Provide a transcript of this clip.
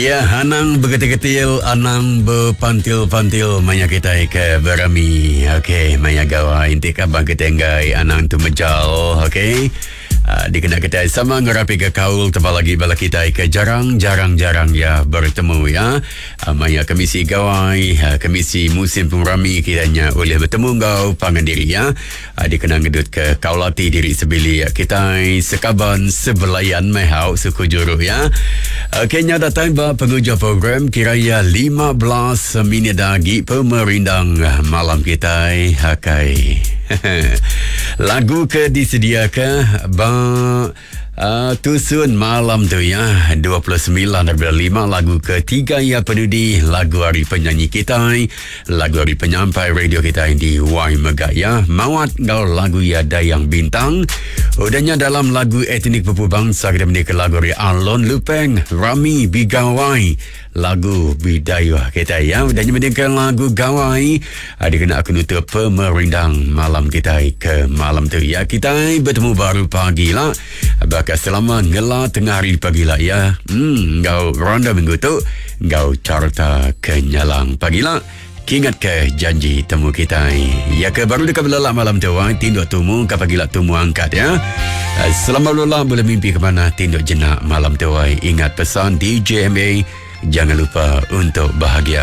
Ya, anang begetil-getil, anang bepantil-pantil maya kita ke berami. Okey, maya gawai inti kaban kita enggai anang tu mejal, okey. Uh, dikena kita sama ngerapi ke kaul tebal lagi bala kita ke jarang-jarang-jarang ya bertemu ya. Uh, maya kemisi gawai, uh, kemisi musim pengerami kiranya boleh bertemu enggau pangan diri ya. Uh, dikena ngedut ke kaulati diri sebilik kita sekaban sebelayan mehau suku juru ya. Okey, nya datang ba penghujung program kiraya 15 minit lagi pemerindang malam kita hakai. Lagu ke disediakan ba Uh, tusun malam tu ya 29 daripada 5 lagu ketiga ya penudi lagu hari penyanyi kita lagu hari penyampai radio kita di Y Mega ya mawat ngau lagu ya Dayang Bintang udahnya dalam lagu etnik pupu bangsa kita menikah lagu hari Alon Lupeng Rami Bigawai lagu Bidayuh kita ya dan mendengarkan lagu Gawai ada kena aku nutup pemerindang malam kita ke malam tu ya kita bertemu baru pagi lah bakal selama ngela tengah hari pagi lah ya hmm ngau ronda minggu tu ngau carta kenyalang pagi lah Kingat ke janji temu kita. Ya ke baru dekat berlelak malam tu, ah, tinduk tumu ke pagi lah tumu angkat ya. Selamat berlelak boleh mimpi ke mana tinduk jenak malam tu. Ingat pesan DJMA, jangan lupa untuk bahagia.